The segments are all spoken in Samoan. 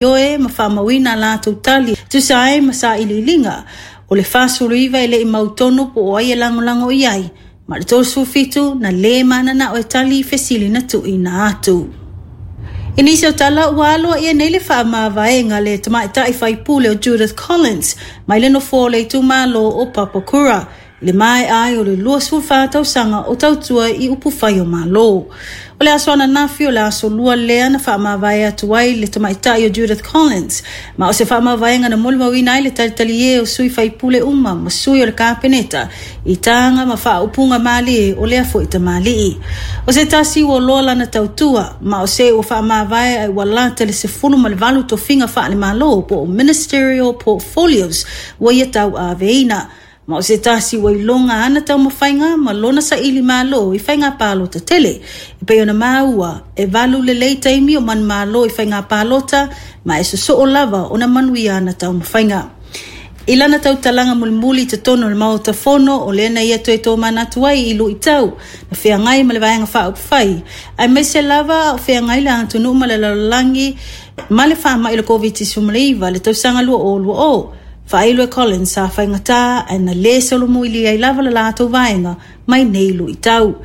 Ioe ma faamauina a latou tali e tusa ai ma sailiiliga. O le 49 e le i mautonu po o ai e lagolago i ai, ma le 37 na lē mananao e tali i fesili na tuuina atu. I nisi o tala ua aloaia nei le faamavaega a le tamaitai faipule o Judith Collins mai le nofoa o le itumalo o Papakura i le maea ai o le 24 tausaga o tautua i upufai o Malo. O le aso ananafi o le aso lua lea na faamavae atu ai le tamaitai o Judith Collins, ma o se faamavaega na molimauina ai le talitalie o sui faipule uma ma sui o le Kapeneta i taga ma faaupuga malie o lea foi tamalii. O se tasi ua loa lana tautua, ma o se ua faamavae ai ua lata le 18 tofiga faale-Malo po o Ministerial Portfolios ua ia tauaveina. Ma o se tasi ua iloga ana taumafaiga ma lona saili malo i faiga palota tele. E pei ona maua, e valu lelei taimi o manumalo i faiga palota ma e sosoo lava ona manuia ana taumafaiga. I lana tautalaga mulimuli i totonu o le Maota Fono, o lea na ia toe tomanatu ai i luitau na feagai ma le Vaega Faaupufai, aemaise lava a o feagai le atunuu ma le lalolagi ma le faamai o le Koviti-19 i le tausaga 2020. Faailo e Collins sa faigata ae na le solomuili ai lava le latou vaega mai nei luitau.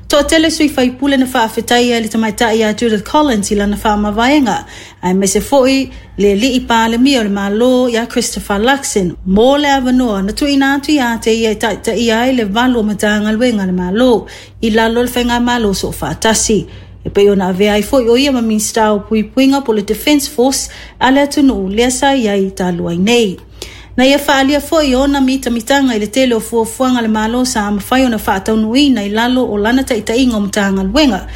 Toatele sui faipule na faafetaia i le tamaitai ia Judith Collins i lana faamavaega, aemaise foi le alii Palemia o le Malo ia Christopher Luxon mo le avanoa na tuuina atu ia te ia e taitaia ai le valu o Matagaluega a le Malo i lalo o le Faigamalo Soofaatasi. E pei ona avea ai foi o ia ma Minisita o Puipuiga po o le Defence Force a le atunuu lea sa i ai talu ai nei. Na ia faaalia foi ona mitamitaga i le tele o fuafuaga a le Malo sa mafai ona faataunuuina i lalo o lana taitaiga o Matagaluega,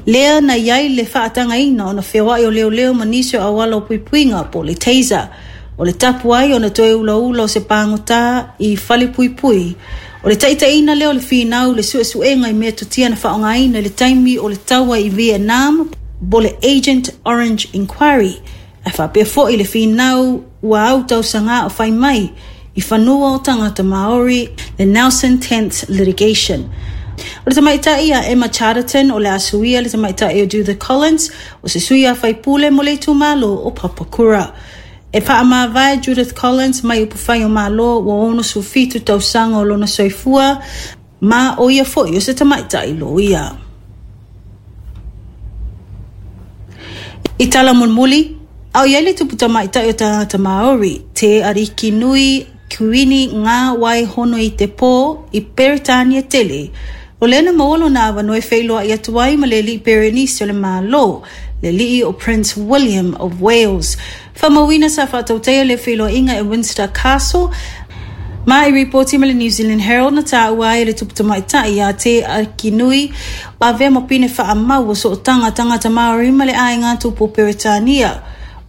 lea na i ai le faatagaina ona feoai o leoleo ma nisi o auala o puipuiga po o le taser. O le tapu ai ona toe ulaula o se pagota i falepuipui. O le taitaiina lea o le finau i le suesuega i metotia na faaaogaina i le taimi o le taua i Vietnam po o le Agent Orange Inquiry, ae faapea foi le finau ua au tausaga o fai mai i fanua o tagata Maori, le Nelson Tenths Litigation. O le tamaitai ia Emma Charterton o le a suia le tamaitai o Judith Collins, o se sui a faipule mo le itumalo o Papakura. E faamavae Judith Collins mai upufai o Malo ua 67 tausaga o lona soifua, ma o ia foi o se tamaitai loia. I tala mulimuli, a o i ai le tupu tamaitai o tagata Māori, Te Arikinui Kuini Ngā Wai Hono i te Pō i Peretānia tele, o lea na maua lona avanoa e feiloai atu ai ma le alii Perenisi o le Malo, le alii o Prince William of Wales. Faamauina sa faatautaia lea feiloaiga e Windsor Castle, ma i ripoti ma le New Zealand Herald na tāua ai e le tupu tamaitai ia Te Arikinui avea ma pine faamau o sootaga tagata Māori ma le aiga tupu o Peretania.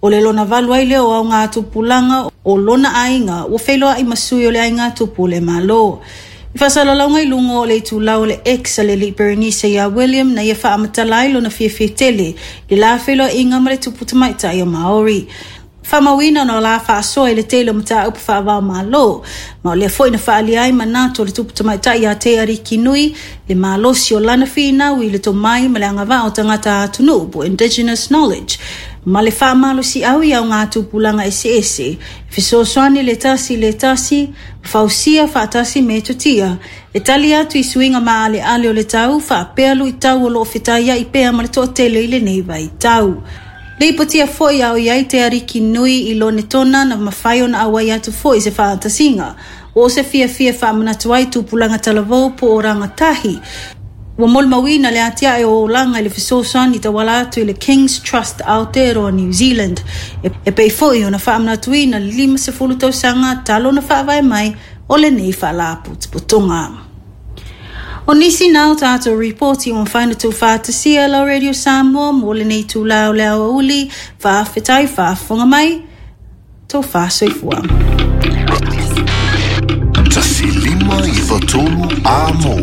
O le lona valu ai lea o aogatupulaga o lona aiga ua feiloai ma sui o le aiga tupu o le Malo. I faasalalauga i luga o le itulau o le X a le alii Berenice iā William na ia faamatala ai lona fiafia tele i le la feiloaiga ma le tupu tamaitai o Māori. Faamauina ona la faasoa i le tele o mataupu faava-o-Malo, ma o lea foi na faaalia ai manatu o le tupu tamaitai ia Te Arikinui, le malosi o lana finau i le tomai ma le agavaa o tagata atunuu po Indigenous Knowledge, ma le faamalosiau i aogatupulaga eseese, e fesoasoani le tasi i le tasi, ma fausia faatasi metotia e tali atu i suiga maaleale o le tau faapea luitau o lo o fetaiai pea ma le toatele i lenei vaitau. Lipotia foi a o i ai te ariki nui i Lonetona na mafai ona auai atu foi i se faatasiga o se fiafia e faamanatu ai tupulaga talavou po o rangatahi. Ua molimauina le atiae o olaga i le fesoasoani tauala atu i le King's Trust Aotearoa New Zealand e pei foi ona faamanatuina le 50 tausaga talu ona faavae mai o lenei faalapotopotoga. O nisi na o tātou ripoti ua mafai ona tuufaatasia lau Radio Samoa mo lenei itula o le aoauli, faafetai faafofoga mai, tofa soifua. 1 5 9 3 Amo.